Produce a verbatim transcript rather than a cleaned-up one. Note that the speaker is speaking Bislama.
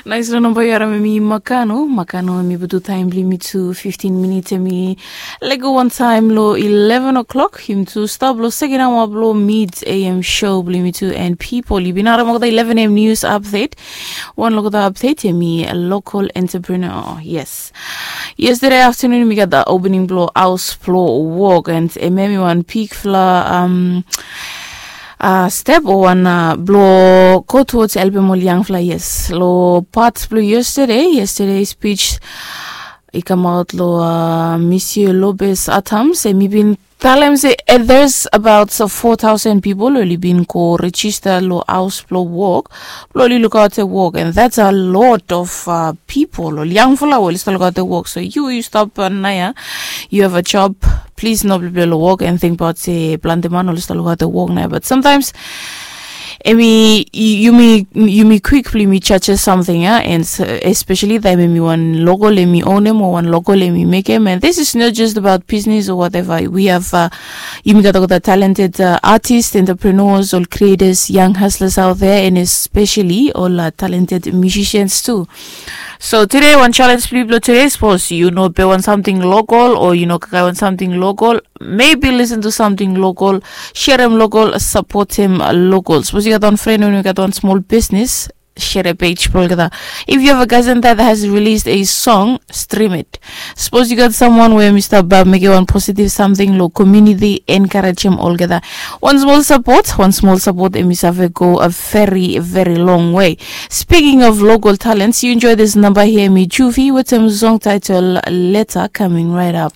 Nais long namba yu harim em i Makano. Makano em i putum taem blong yumi tu fiftin minits, em i lego wantaem long eleven o'clock. Yumi tu stap long seken aoa blong mid A M show blong yumi tu. And pipol, yu bin harim olgeta eleven A M news update. Wan long olgeta update em i local entrepreneur. Yes. Yestade aftanun yumi gat da opening blong haos blong wok, and em em i wan bigfala, um, uh, step o wan, uh, blong go towards helpem ol yangfala. Yes, long pat blong yestade, yestade speech i kamaot long, uh, Monsieur Lopez Atams, em i bin talem se, eh, there's about four thousand pipol oli bin go rejista long haos blong wok blong oli lukaotem wok, and that's a lot of, uh, pipol, ol yangfala we oli stap lukaotem wok. So yu, yu stap, uh, naoia, yu have a job, plis no blibli long wok and tingbaot se plante man oli stap lukaotem wok naoia. But sometimes em i, yumi, yumi kwik blong yumi jaje samting, a, and, uh, especially taem em i wan lokol em i onem o wan lokol em i mekem. And this is not just about business or whatever. We have, uh, yumi gat olgeta talented, uh, artists, entrepreneurs, ol creators, young hustlers out there, and especially ol, uh, talented musicians too. So tude wan challenge blong yu blong tude, sapos yu no pem wan samting lokol o yu no kakae wan samting lokol, maybe listen to samting lokol, serem lokol, sapotem lokol. Sapos yu gat wan fren we i gat wan smol bisnis, sere pej blong olgeta. If you have a cousin that has released a song, stream it. Sapos yu gat samwan we em i stap, uh, mekem wan positive samting long komuniti, enkarejem olgeta. Wan smol sapot, wan smol sapot em i save go a very, very long way. Speaking of local talents, yu enjoy this namba hia, em i Juvie wetem song title Letter, coming right up.